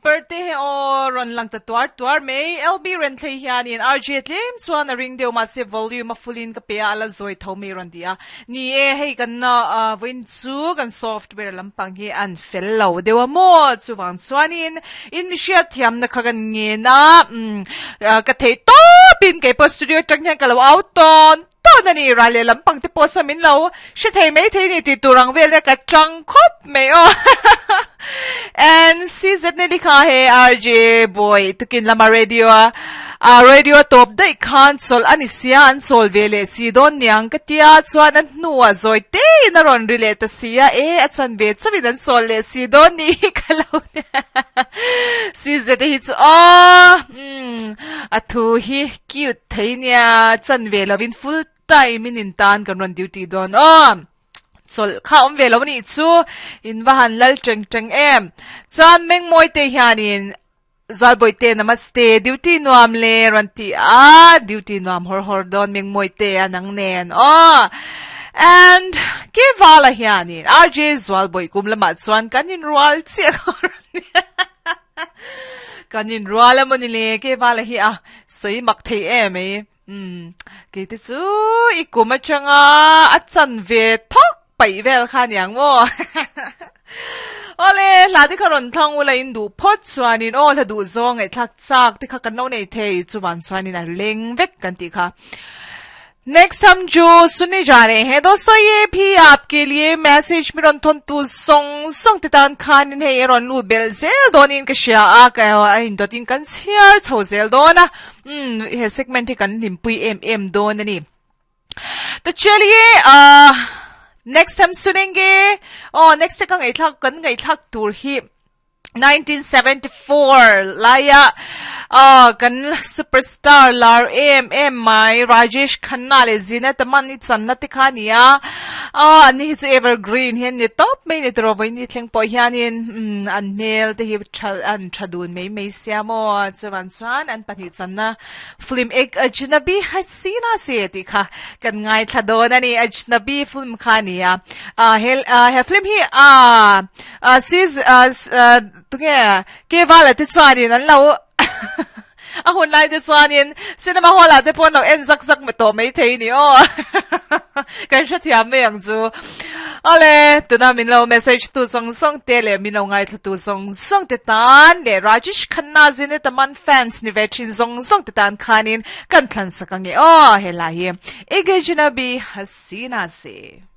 ber te he aw rawn lang ta tuar tuar mai. LB Renthlei hianin RJ tlem chuan a ring deuh mahse volume a full in ka pe a, a la zawi tho mai rawn ti a. Ni e, hei kan vawiin chu kan software lampang hi an fel lo deuh a maw? Chuvang chuanin in hriat thiamna kha kan ngen a, ka theih tawpin keipawh studio atang hian ka lo au tawn tawn a ni. Ral leh lampang te pawh saw min lo hre thei mai thei ni tih tur ang vel e ka tang khawp mai aw. And CZ Nelly kha he RJ boy tukin lama radio a a radio tawp daih khan chawlh a ni sia an chawl ve leh si dawn niang ka tia chuan a hnuah zawi te in a rawn ri leh ta sia e a chan ve chauhin an chawl leh si dawn ni hi ka lo CZ te hi chu aw umm a thu hi cute thei nia chan ve lovin full time in in tan kan rawn duty dawn aw. Chawlh kha awm ve lo nih chu in va han lal teng teng em. Chuan Mengmawi te hianin Zualbawi te namaste duty nuam le rawn ti a, duty nuam hawr hawr dawn Mengmawi te a nang nen aw. And Kevala hianin RJ Zualbawi kum lamah chuan kan inrual chiah kha rawn ti a. Kan inrual a mawni le Kevala hi a sawi mak thei em mai. Umm, kei te chu i kum atanga a chan ve thawk paih vel kha aniang maw? Awle, hla te kha rawn thlang ula in duh phawt chuanin aw hla duh zawng ngaihthlak chak te kha kan lo nei thei chuvan chuanin a leng vek kan tih kha. Next hum jo sunne ja rahe hain dosto ye bhi aapke liye message mi rawn thawn tu zawng zawng te tan khanin hei a rawn lut belh zel dawnin ka hria a ka a indawtin kan chhiar chho zel dawn a. Umm he segment hi kan hlimpui em em dawn a ni. To chaliye ah next time sunenge aw next ka ngaihthlak kan ngaihthlak tur hi 1974 laia ah kan superstar lar em em mai Rajesh Khanna leh Zeenat Aman i channa te kha a ni a ah ani hi chu evergreen hi an ni tawp mai a ni tawh vawiin ni thleng pawh hianin umm an hmel te hi tha an tha dun mai mai sia maw chuan chuan an pahnih channa film ek Ajnabi Hasina se tih kha kan ngaithla dawn a ni Ajnabi film kha a ni a ah he ah he film hi ah ah sis ah ah tunge Kevala te chuanin an lo a hun lai te chuanin cinema hall ah te pawh an lo en zak zak tawh maithei a ni aw kan hrethiam mai ang chu awle tuna min lo message tu zawng zawng te leh min lo ngaithla tu zawng zawng te tan leh Rajesh Khanna Zeenat Aman fans ni ve thin zawng zawng te tan khanin kan thlan sak ange aw helai hi Ek Ajnabi Hasina Se.